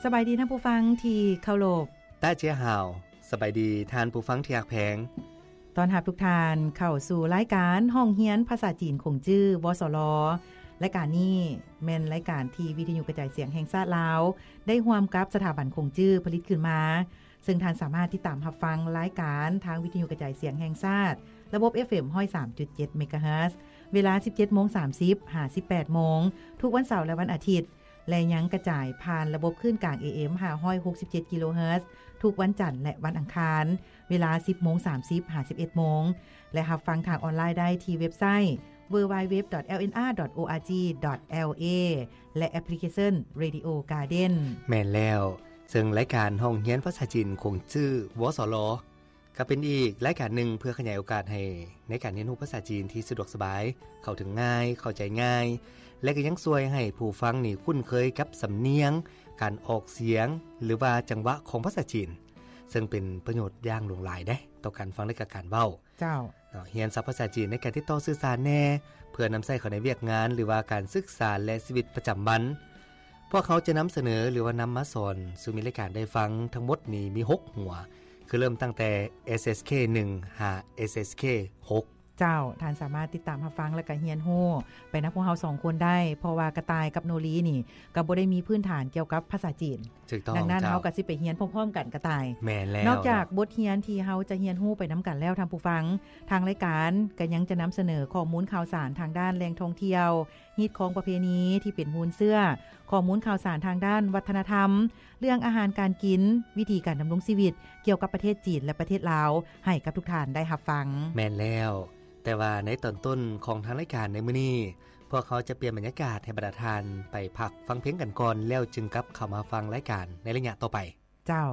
ສະບາຍດີທ່ານຜູ້ຟັງທີ່ເຄົາລົບ. ຕາເຈຍຫາວ ສະບາຍດີທ່ານຜູ້ຟັງທີ່ຮັກແພງ. ຕ້ອນຮັບທຸກທ່ານເຂົ້າສູ່ລາຍການຫ້ອງຮຽນພາສາຈີນຂົງຈື່ ວສລ. ລາຍການນີ້ແມ່ນລາຍການທີ່ວິທະຍຸກະຈາຍສຽງແຫ່ງຊາດລາວ ໄດ້ຮ່ວມກັບສະຖາບັນຂົງຈື່ຜະລິດຂຶ້ນມາ, ເຊິ່ງທ່ານສາມາດຕິດຕາມຮັບຟັງລາຍການທາງວິທະຍຸກະຈາຍສຽງແຫ່ງຊາດ ລະບົບ ເອັຟເອັມ ຮ້ອຍສາມຈຸດເຈັດ ເມກາເຮີດ ເວລາ ສິບເຈັດໂມງສາມສິບ ຫາ ສິບແປດໂມງ ທຸກວັນເສົາ ແລະ ວັນອາທິດ ແລະ ຍັງກະຈາຍຜ່ານລະບົບຄື້ນກາງ ເອເອັມ ຫ້າຮ້ອຍຫົກສິບເຈັດ ກິໂລເຮີດ ທຸກວັນຈັນ ແລະ ວັນອັງຄານ ເວລາ ສິບໂມງສາມສິບ ຫາ ສິບເອັດໂມງ ແລະ ຮັບຟັງທາງອອນລາຍໄດ້ທີ່ເວັບໄຊ www.lnr.org.la ແລະ ແອັບພລິເຄຊັນ Radio Garden. ແມ່ນແລ້ວ, ເຊິ່ງລາຍການຫ້ອງຮຽນພາສາຈີນຂົງຈື່ ວສລ ກໍເປັນອີກລາຍການໜຶ່ງເພື່ອຂະຫຍາຍໂອກາດໃຫ້ໃນການຮຽນຮູ້ພາສາຈີນທີ່ສະດວກສະບາຍ, ເຂົ້າເຖິງງ່າຍ, ເຂົ້າໃຈງ່າຍ ແລະ ກໍຍັງຊ່ວຍໃຫ້ຜູ້ຟັງນີ້ຄຸ້ນເຄີຍກັບສຳນຽງ, ການອອກສຽງ ຫຼືວ່າຈັງຫວະຂອງພາສາຈີນ, ເຊິ່ງເປັນປະໂຫຍດຢ່າງຫຼວງຫຼາຍເດ້ຕໍ່ການຟັງ ແລະ ກະການເວົ້າ. ເຈົ້າ. ເນາະ, ຮຽນສັບພາສາຈີນໃນການຕິດຕໍ່ສື່ສານແດ່ ເພື່ອນຳໃຊ້ເຂົ້າໃນວຽກງານ ຫຼືວ່າການສຶກສາ ແລະ ຊີວິດປະຈຳວັນ. ພວກເຮົາຈະນຳສະເໜີ ຫຼືວ່ານຳມາສອນສູ່ມິດລາຍການໄດ້ຟັງທັງໝົດນີ້ມີຫົກຫົວ, ຄືເລີ່ມຕັ້ງແຕ່ ເອສເອັສເຄ ໜຶ່ງ ຫາ ເອສເອັສເຄ ຫົກ. ເຈົ້າ, ທ່ານສາມາດຕິດຕາມຮັບຟັງ ແລະ ກະຮຽນຮູ້ໄປນຳພວກເຮົາສອງຄົນໄດ້, ເພາະວ່າກະຕ່າຍກັບໂນລີນີ້ກໍບໍ່ໄດ້ມີພື້ນຖານກ່ຽວກັບພາສາຈີນ. ຖືກຕ້ອງ. ດັ່ງນັ້ນ ເຈົ້າ, ເຮົາກໍຊິໄປຮຽນພ້ອມໆກັນ ກະຕ່າຍ. ແມ່ນແລ້ວ. ນອກຈາກບົດຮຽນທີ່ເຮົາຈະຮຽນຮູ້ໄປນຳກັນແລ້ວ ທ່ານຜູ້ຟັງ, ທາງລາຍການກໍຍັງຈະນຳສະເໜີຂໍ້ມູນຂ່າວສານທາງດ້ານແຫຼ່ງທ່ອງທ່ຽວ, ຮີດຄອງປະເພນີທີ່ເປັນມູນເຊື້ອ, ຂໍ້ມູນຂ່າວສານທາງດ້ານວັດທະນະທຳ, ເລື່ອງອາຫານການກິນ, ວິທີການດຳລົງຊີວິດກ່ຽວກັບປະເທດຈີນ ແລະ ປະເທດລາວ ໃຫ້ກັບທຸກທ່ານໄດ້ຮັບຟັງ. ແມ່ນແລ້ວ. ແຕ່ວ່າໃນຕອນຕົ້ນຂອງທາງລາຍການໃນມື້ນີ້, ພວກເຮົາຈະປ່ຽນບັນຍາກາດໃຫ້ບັນດາທ່ານໄປພັກຟັງເພງກັນກ່ອນ, ແລ້ວຈຶ່ງກັບເຂົ້າມາຟັງລາຍການໃນໄລຍະຕໍ່ໄປ. ເຈົ້າ.